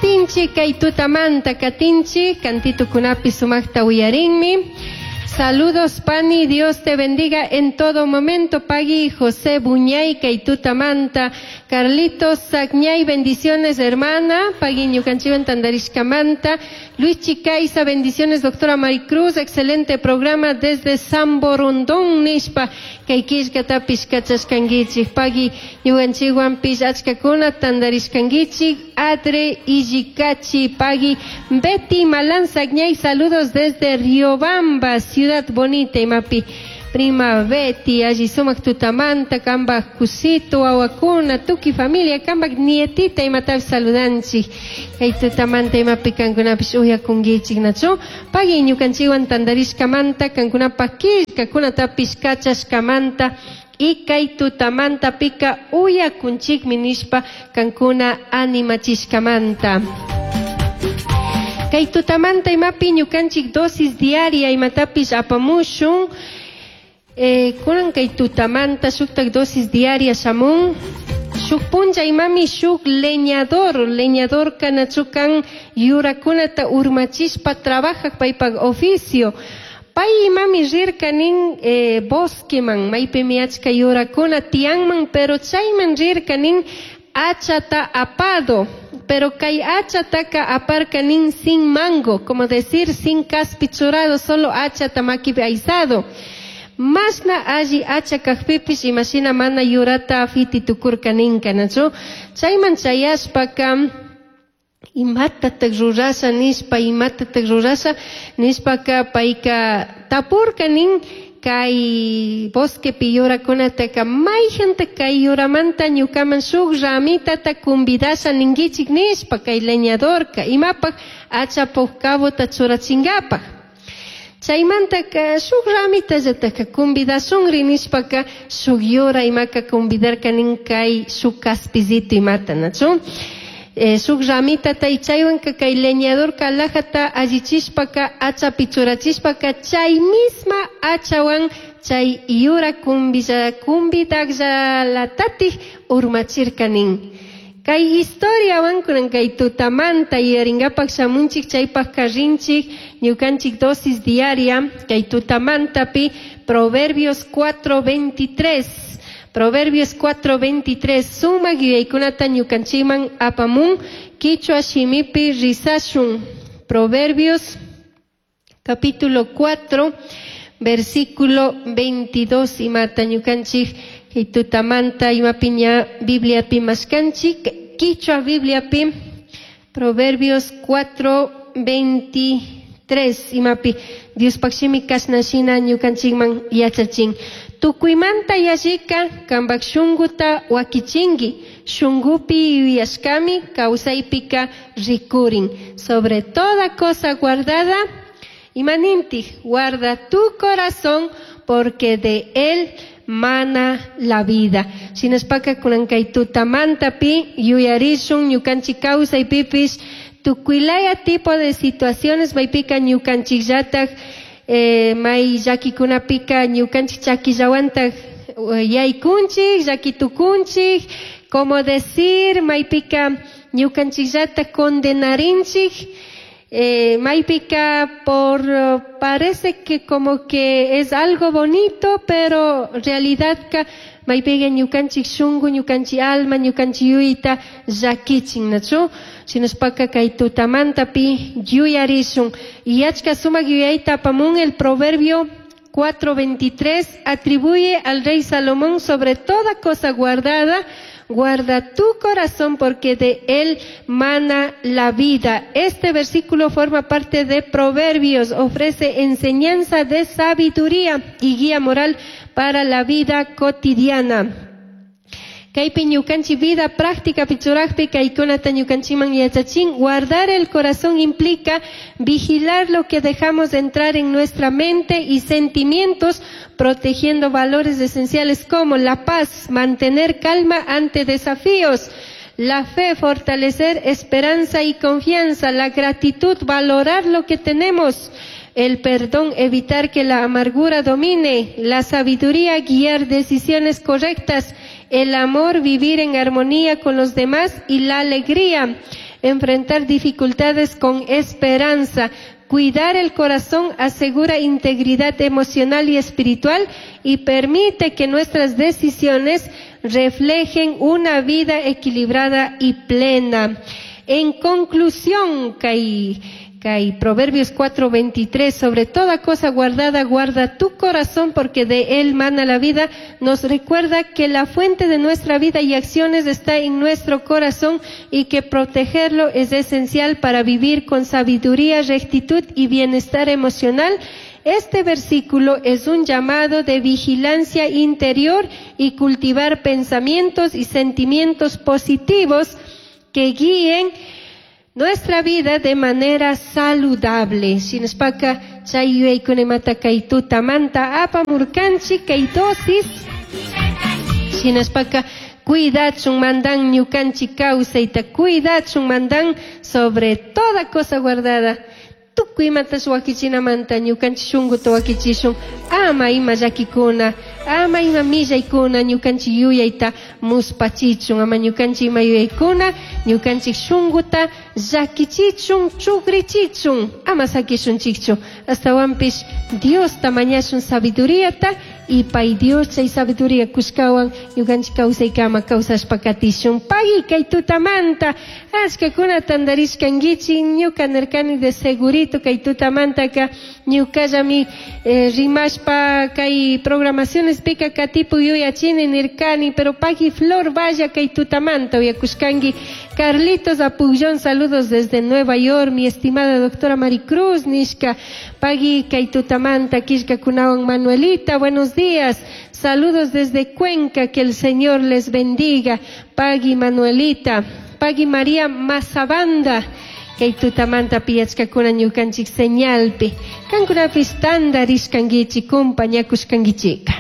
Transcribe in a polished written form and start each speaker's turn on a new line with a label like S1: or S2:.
S1: Katinchik kay tutamanta katinchik kantitukunapi sumaqta uyarinmi. Saludos Pani, Dios te bendiga en todo momento. Pagui José Buñay kay tutamanta. Carlitos Sacñay, bendiciones hermana. Pagui ñukanchikwan tantarishkamanta. Luis Chicaiza, bendiciones doctora Maricruz, excelente programa desde San Borondón nishpa kay killkatapish kachashkankichik. Pagui ñukanchikwanpish achkakuna tantarishkankichik. Adre Illikachi, Pagui Betty Malán Sacñay, saludos desde Riobamba, Ciudad Bonita, imapi. Prima Betty, alli sumak tutamanta, kambak kusito, wawakuna, tuki familia, kambak nietita imatapish saludanchik. Kay tutamanta imapi kankunapish uyakunkichik nachu. Pagui ñukanchikwan tantarishkamanta, kankunapak killkakunatapish kachashkamanta, y kay tutamanta pika uyakunchikmi nishpa kankuna animachishkamanta. Kay tutamanta imapi ñukanchik dosis diaria imatapish apamushun. Kunan kay tutamanta shuktak dosis diaria shamun. Shuk punlla imami shuk leñador, leñador kanachukan yurakunata urmachishpa trabajak paypak oficio. Pay imami rirka nin bosqueman, maypimi achka yurakuna tiyanman, pero chayman rirka nin achata apado. Pero kay achataka aparka nin sin mango, como decir sin caspi churado, solo achata makipi aizado. Masna alli acha kajpipish imashina mana yurata fiti tukurka ninka, nachu? Chayman chayashpaka imatatak rurasha nishpa, imatatak rurasha nishpaka payka tapurka nin kay bosquepi yurakunataka mayjanta kay yuramanta ñukaman shuk ramitata convidasha ninkichik nishpa kay leñadorka imapaj achapuk cabota churachinkapak. Chaymantaka shuk ramitallataka convidashunri nishpaka shuk yura imaka convidarka nin kay shuk kaspizito imata, nachu? Shuk ramitata y chaywanka kay leñadorka alajata allichishpaka achapi churachishpaka chay misma achawan chay yura convidakllatatik urmachirka nin. Kay historiawan kunan kay tutamanta yuyarinkapak shamunchik chaypak karrinchik ñukanchik dosis diaria kay tutamantapi Proverbios 4:23. Proverbios 4:23 sumak yuyaykunata ñukanchikman apamun kichwa shimipi rizashun. Proverbios capítulo 4 versículo 22 imata ñukanchik kay tutamanta imapi ña Bibliapi mashkanchik kichwa Bibliapi Proverbios 4:23 imapi Diospaq shimi kashna shina ñukanchikman yachachin. Tukuymanta yallika kambak shunguta wakichinki, shungupi yuyashkami kawsaypika rikurin. Sobre toda cosa guardada, imaninti, guarda tu corazón porque de él mana la vida. Shinaspaka kunan kay tutamantapi yuyarishun ñukanchik kawsaypipish tukuylaya tipo de situaciones maypika ñukanchikllatak may llakikunapika ñukanchik chakillawantak yaykunchik, llakitukunchik, como decir maypika ñukanchikllatak condenarinchik, maypika por parece que como que es algo bonito, pero realidad ka maypika ñukanchik shunku, ñukanchik alma, ñukanchik yuyta llakichin, nachu? Shinaspaka kay tutamantapi yuyarishun. Y achka sumak yuyayta apamun el proverbio 4:23 atribuye al rey Salomón sobre toda cosa guardada, guarda tu corazón porque de él mana la vida. Este versículo forma parte de Proverbios, ofrece enseñanza de sabiduría y guía moral para la vida cotidiana. Kaypi ñukanchik vida práctica pichurajpi kaykunata ñukanchikman yachachin. Guardar el corazón implica vigilar lo que dejamos entrar en nuestra mente y sentimientos, protegiendo valores esenciales como la paz, mantener calma ante desafíos, la fe, fortalecer esperanza y confianza, la gratitud, valorar lo que tenemos, el perdón, evitar que la amargura domine, la sabiduría, guiar decisiones correctas, el amor, vivir en armonía con los demás y la alegría, enfrentar dificultades con esperanza. Cuidar el corazón asegura integridad emocional y espiritual y permite que nuestras decisiones reflejen una vida equilibrada y plena. En conclusión, kay, kay Proverbios 4:23, sobre toda cosa guardada, guarda tu corazón porque de él mana la vida, nos recuerda que la fuente de nuestra vida y acciones está en nuestro corazón y que protegerlo es esencial para vivir con sabiduría, rectitud y bienestar emocional. Este versículo es un llamado de vigilancia interior y cultivar pensamientos y sentimientos positivos que guíen nuestra vida de manera saludable. Shinaspaka chay yuyaykunamanta kay tutamanta apamurkanchik kay dosis. Shinaspaka cuidachun mandan ñukanchik kawsayta, cuidachun mandan sobre toda cosa guardada. Tukuy imatash wakichinamanta ñukanchik shunkuta wakichishun ama ima llakikuna, ama ima millaykuna ñukanchik yuyayta muspachichun, ama ñukanchik ima yuyaykuna ñukanchik shunkuta llakichichun, chukrichichun, ama sakishunchikchu. Astawanpish Diosta mañashun sabiduriata y pay Dios chay sabiduría kushkawan ñukanchik kawsaykama kawsashpa katishun. Pagui kay tutamanta achkakuna tantarishkankichik ñuka nirkani de segurito kay tutamantaka ñukallami rimashpa kay programaciones pika katipu yuyachini nirkani, pero pagui Flor vaya kay tutamanta uyakushkanki. Carlitos Apullón, saludos desde Nueva York, mi estimada doctora Maricruz nishka. Pagui kay tutamanta killkakunawan Manuelita, buenos días. Saludos desde Cuenca, que el Señor les bendiga. Pagui Manuelita, Pagui María Mazabanda, kay tutamanta piyachkakuna ñukanchik señalpi. Kankunapis tantarishkankichik, compañakushkankichika.